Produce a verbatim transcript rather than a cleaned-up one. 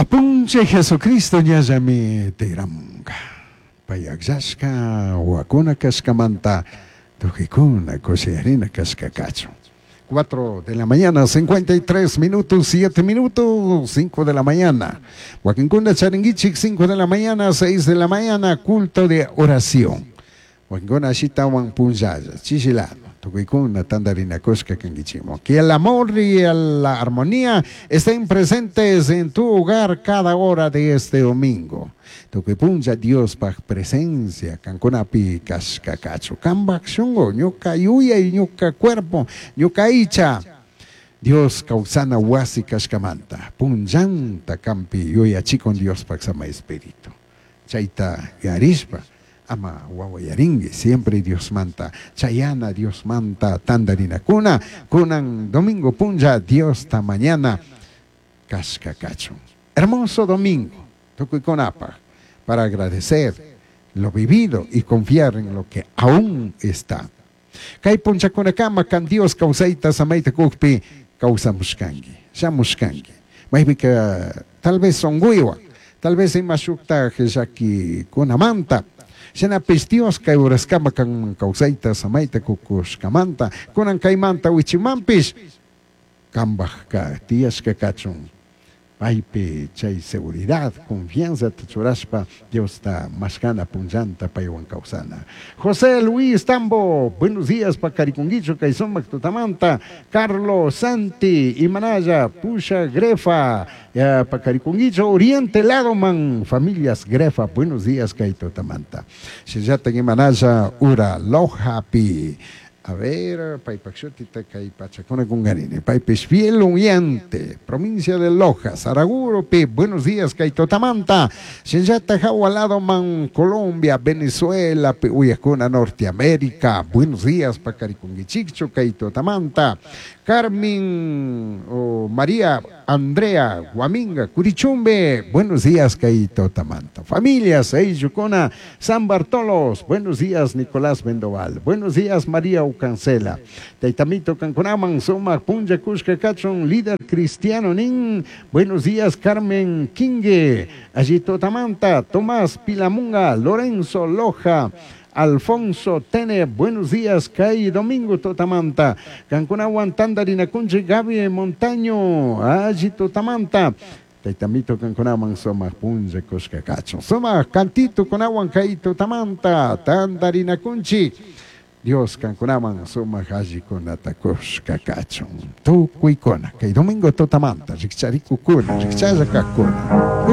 Apunchik Jesucristo ñallami tigramunga. Pay akllashka wawakuna kashkamanta tukuykuna kushiyarina kashka kachun. cuatro de la mañana, cincuenta y tres minutos, siete minutos, cinco de la mañana. Wakinkuna charinguichik cinco de la mañana, seis de la mañana, culto de oración. Wakinkuna ashitawan punllalla, chishilano. Tukuykuna tandarinakushka kanguichikman. Que el amor y la armonía estén presentes en tu hogar cada hora de este domingo. Tukuy punlla Diospaj presencia kankunapi kashka kachu. Kambaj shungu, ñuka yuyay, ñuka cuerpo, ñuka aycha. Dios kawsana wasi kashkamanta. Punllanta kampi yuyachikun Diospaj sama espíritu. Chayta yarishpa ama wawayarinki, siempre Diosmanta chayana, Diosmanta tandarinakuna kunan domingo punlla Diosta mañana kashka kachun. Hermoso domingo tukuykunapaj para agradecer lo vivido y confiar en lo que aún está. Kay punllakunakama kan Dios kawsayta samayta kukpi kawsamushkanki, shamushkanki. Maypika tal vez unguywan, tal vez ima shuktaj llakikunamanta. Shinapish Dios kay uraskama kan kawsayta samayta kukushkamanta, kunan kaymanta wichimanpish kambajka tiyashka kachun. Paypi chay seguridad, confianza churashpa Diosta mashkana punllanta paywan kawsana. José Luis Tambo, buenos días pakarikunguichu kay sumak tutamanta. Carlos Santi, Imanaya, Pusha Grefa, ya pakarikunguichu Oriente Ladoman, familias Grefa, buenos días kay tutamanta. Shillata Imanaya ura Lojapi. A ver, paypak shutita kay pachakuna kungarini. Paypish fiel oyente, provincia de Loja, Saraguropi, buenos días, kay tutamanta. Shinllata jawalado man, Colombia, Venezuela, uyakuna Norteamérica, buenos días, pakarikunguichikchu, kay tutamanta. Carmen oh, María Andrea Guaminga, Curichumbe, buenos días, kay tutamanta. Familias, Eyukona, San Bartolos, buenos días, Nicolás Vendoval, buenos días, María Ucancela. Taitamito kankunaman, Suma Punja Kushka Kachun, líder cristiano Nin, buenos días, Carmen Quingue, allí Totamanta, Tomás Pilamunga, Lorenzo Loja, Alfonso Tene, buenos días, Kay Domingo Totamanta, Kankunawan Tandarinakunchi, Gaby Montaño, allí Totamanta. Taitamito kankunaman sumak punlla kushka kachun. Sumak cantito kunawan kay tutamanta, tandarinakunchi. Dios kankunaman sumak allikunata kushka kachun. Tukuykuna, kay domingo tutamanta, rikcharikukuna, rikchalla kakuna.